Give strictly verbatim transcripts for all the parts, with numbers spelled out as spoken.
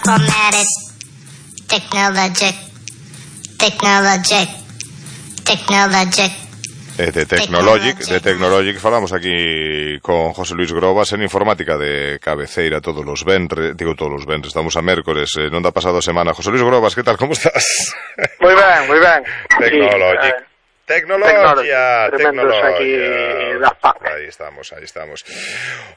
Informatic, technologic, technologic, technologic. E de Technologic, de Technologic falamos aquí con José Luis Grobas en informática de cabeceira todos os venres, digo todos os venres, estamos a mércores, eh, non dá pasado semana. José Luis Grobas, que tal, como estás? Moi ben, moi ben. Technologic. Sí, eh, Tecnología, tecnología. Aquí das P A C. Aí estamos, aí estamos.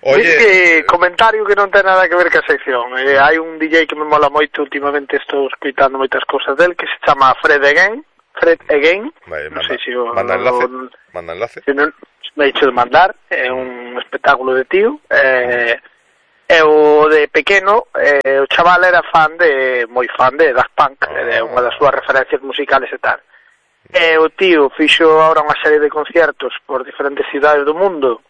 Oye, dice, comentario que non ten nada que ver ca sección. Eh, hai un D J que me mola moito, últimamente estou escoitando moitas cousas del, que se chama Fred Again. Fred Again. Vale, non manda, sei se o, manda enlace. O, manda enlace. Se non me he dicho de mandar, é un espectáculo de tío. Eh, e o de pequeno, eh, o chaval era fan de, moi fan de Daft Punk, oh. É unha das súas referencias musicales e tal. E o tío fixo ahora unha serie de conciertos por diferentes cidades do mundo.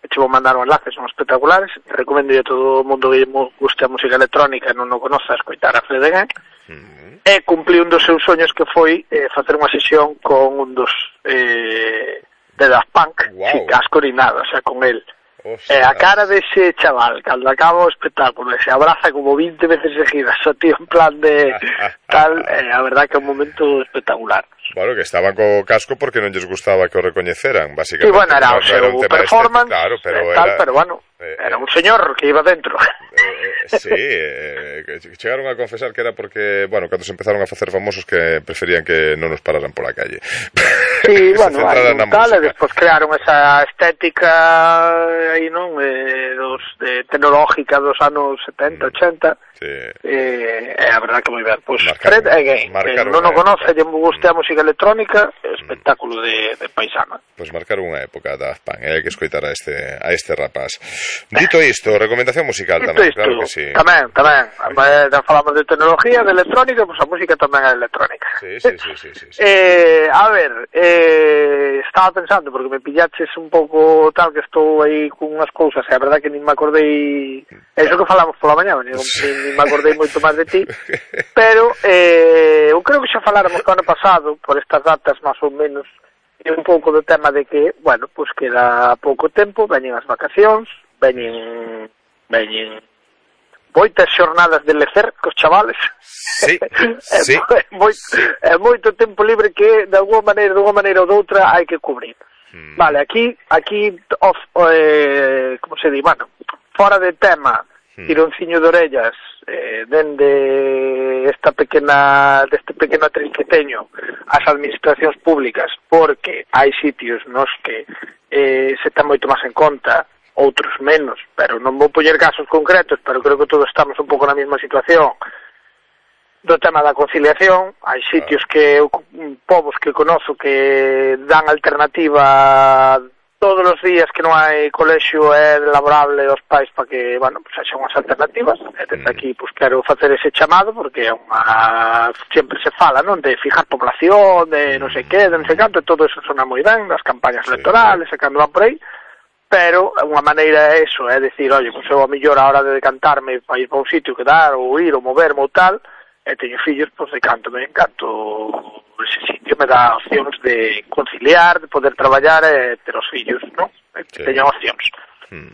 E che vou mandar un enlace, son espectaculares. Recomendo a todo o mundo que guste a música electrónica e non o conoza escoitar a Fred Again. Mm. E cumpli un dos seus soños, que foi eh, facer unha sesión con un dos eh, de Daft Punk, wow. Sin casco ni nada, o sea, con él. E a cara dese chaval, cando acaba o espectáculo, se abraza como veinte veces seguidas, o tío en plan de tal, eh, a verdad que é un momento espectacular. Bueno, que estaban co casco porque non lles gustaba que o recoñeceran, basicamente. Sí, bueno, era o seu no performance, claro, pero tal, era, pero bueno, eh, era un señor que iba dentro. Eh, sí, eh, chegaron a confesar que era porque, bueno, cando se empezaron a facer famosos, que preferían que non nos pararan pola calle. Sí, bueno, hai un tal, e despois crearon esa estética aí, non, eh, dos, de, tecnológica dos anos setenta, ochenta, sí. eh, é a verdad que moi ben. Pois pues, Fred Again, que non o conoce, lle me guste a música electrónica, espectáculo de, de paisana. Pois pues marcar unha época da Daft Punk, hai que escoitar a este, a este rapaz. Dito isto, recomendación musical Dito tamén, isto, claro que sí. Tamén, tamén, eh, falamos de tecnología, de electrónica, pois pues a música tamén é electrónica. Sí, sí, sí, sí, sí, sí. Eh, a ver, eh, estaba pensando, porque me pillaches un pouco tal, que estou aí con unhas cousas, e a verdad que nin me acordei, eso que falamos pola mañá, nin, nin me acordei moito máis de ti, pero eh, eu creo que xa faláramos o ano pasado, por estas datas máis ou menos, e un pouco do tema de que, bueno, pois pues queda pouco tempo, veñen as vacacións, veñen, veñen moitas xornadas de lecer cos chavales. Sí, sí. É moito, é moito tempo libre que de alguma maneira, de unha maneira ou doutra hai que cubrir. Mm. Vale, aquí, aquí, off, eh, como se di, bueno, fora de tema, mm. tironciño de orellas, eh, dende esta pequena, deste pequeno trinqueteño as administracións públicas, porque hai sitios nos que eh, se ten moito máis en conta, outros menos, pero non vou poñer casos concretos, pero creo que todos estamos un pouco na mesma situación do tema da conciliación. Hai sitios que, povos que conozo que dan alternativa todos os días que non hai colexio é laborable aos pais para que, bueno, pues haxa unhas alternativas. E desde aquí, pues quero facer ese chamado, porque é unha, sempre se fala, non, de fijar población, de non sei que, de non sei canto, e todo eso sona moi ben, das campañas electorales, e cando van por aí, pero unha maneira é eso, é dicir, oye, pues eu a mellor a hora de decantarme para ir para un sitio, quedar, ou ir, ou moverme, ou tal, e teño fillos, pois pues, decanto, me encanto ese sitio, me dá opcións de conciliar, de poder traballar e ter os fillos, non? Sí. Teño opcións. Hmm.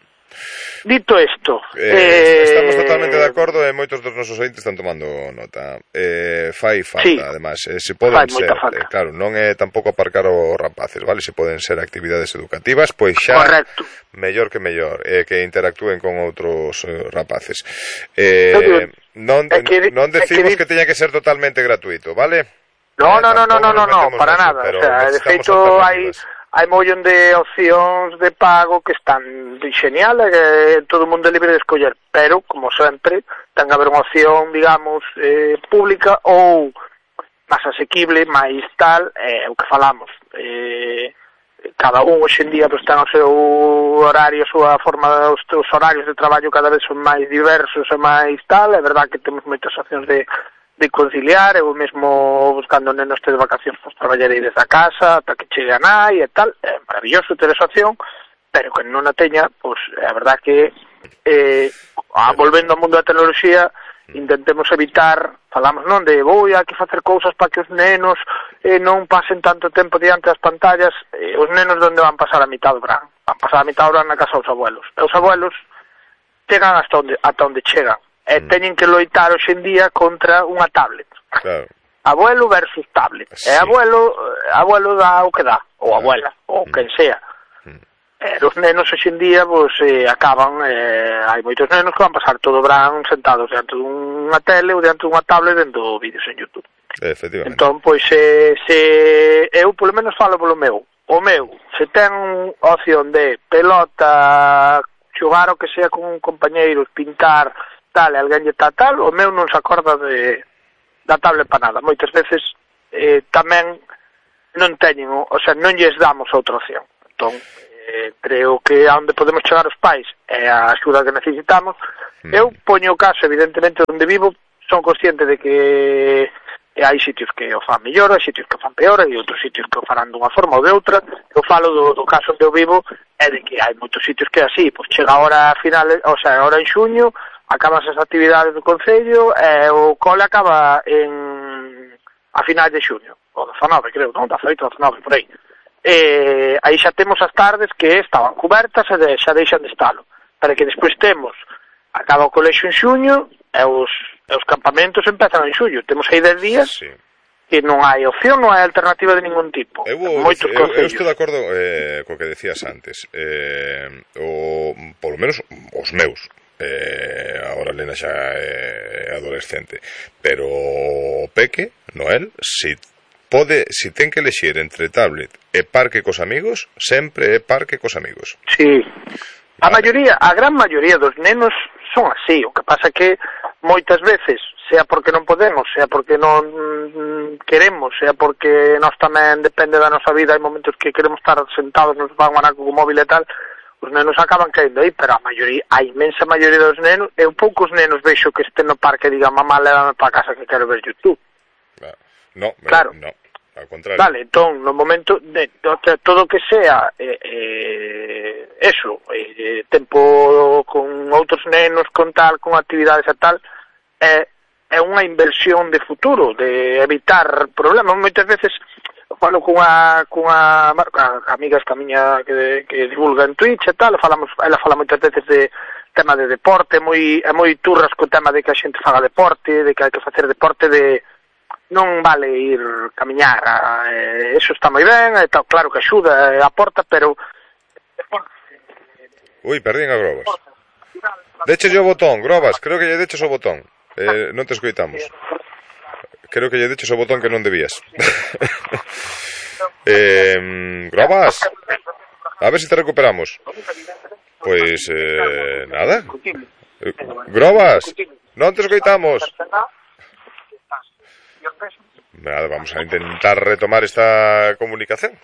Dito isto, eh, eh, estamos totalmente de acordo e moitos dos nosos ointes están tomando nota. Eh, fai falta, sí, además, eh, se poden ser, eh, claro, non é tampouco aparcar os rapaces, vale? Se poden ser actividades educativas, pois xa correcto, mellor que mellor, eh, que interactúen con outros eh, rapaces. Eh, non, que, non decimos que, que teña que ser totalmente gratuito, vale? No, eh, no, no, no, no, no, no, para eso, nada, o sea, de feito hai hai mollón de opcións de pago que están genial, e todo o mundo é libre de escoller, pero, como sempre, ten que haber unha opción, digamos, eh, pública ou máis asequible, máis tal, é eh, o que falamos. Eh, cada un hoxe en día pues, ten o seu horario, a súa forma, os teus horarios de traballo cada vez son máis diversos e máis tal, é verdad que temos moitas opcións de de conciliar, eu mesmo buscando nenos de vacacións, pois traballarei desde a casa ata que chegue a nai e tal, é maravilloso ter esa opción, pero que non a teña, pois é a verdad que eh, volvendo ao mundo da tecnoloxía, intentemos evitar, falamos non, de vou aquí facer cousas para que os nenos eh, non pasen tanto tempo diante das pantallas, eh, os nenos onde van pasar a mitad do verán, van pasar a mitad do verán na casa dos abuelos, e os abuelos chegan hasta onde, ata onde chegan, e mm. teñen que loitar hoxe en día contra unha tablet. Claro. Abuelo versus tablet. Sí. E abuelo, abuelo dá o que dá, ou abuela, ou mm. quen sea. Mm. E os nenos hoxe en día, pues, eh, acaban, eh, hai moitos nenos que van pasar todo o verán sentados diante dunha tele ou diante dunha tablet vendo vídeos en YouTube. Efectivamente. Entón, pois, se, se eu polo menos falo polo meu. O meu, se ten opción de pelota, xogar o que sea con un compañeiro, pintar, tal, e alguén lle tal, tal, o meu non se acorda de da tablet para nada. Moitas veces eh, tamén non teñen, o sea, non lles damos outra opción. Entón, eh, creo que a onde podemos chegar os pais é a axuda que necesitamos. Mm. Eu poño o caso, evidentemente, onde vivo, son consciente de que e hai sitios que o fan mellor, hai sitios que o fan peor, e outros sitios que o farán dunha forma ou de outra. Eu falo do, do caso onde eu vivo, é de que hai moitos sitios que é así, pois chega a hora final, o sea, a hora en xuño, acaban as actividades do Concello, e o cole acaba en a finais de xuño, o dezanove, creo, non, dezaoito, dezanove, por aí. E aí xa temos as tardes que estaban cubertas e de, xa deixan de estalo, para que despois temos, acaba o colexo en xuño, e os, e os campamentos empezan en xullo. Temos aí dez días, sí, e non hai opción, non hai alternativa de ningún tipo. Eu, Moitos eu, eu estou de acordo eh, co que decías antes. Eh, o, polo menos os meus. Eh, agora Lena xa é adolescente. Pero o Peque, Noel, si pode, si ten que elexir entre tablet e parque cos amigos, sempre é parque cos amigos. Sí. A vale. maioría, a gran maioría dos nenos son así. O que pasa que moitas veces, sea porque non podemos, sea porque non queremos, sea porque nós tamén depende da nosa vida, hai momentos que queremos estar sentados nos van a co móvil e tal, os nenos acaban caendo aí, pero a maioría, a inmensa maioría dos nenos, eu poucos nenos vexo que estén no parque e digan, mamá, lévame para casa que quero ver YouTube. No, claro. No, ao contrario. Vale, entón, no momento de, de todo que sea eh, eh, eso, eh, tempo con outros nenos, con tal, con actividades e tal, é, é unha inversión de futuro, de evitar problemas. Moitas veces falo cunha, cunha amigas que a miña que, que divulga en Twitch e tal, falamos, ela fala moitas veces de tema de deporte, é moi, é moi turras co tema de que a xente faga deporte, de que hai que facer deporte, de non vale ir camiñar, eh, eso está moi ben, e tal, claro que axuda, eh, aporta, pero Ui, perdín a Grobas. Deches o botón, Grobas, creo que lle deches o botón. Eh, non te escoitamos. Creo que lle deches o botón que non debías. eh, Grobas, a ver se si te recuperamos. Pois, eh, nada. Grobas, non te escoitamos. Nada, vamos a intentar retomar esta comunicación.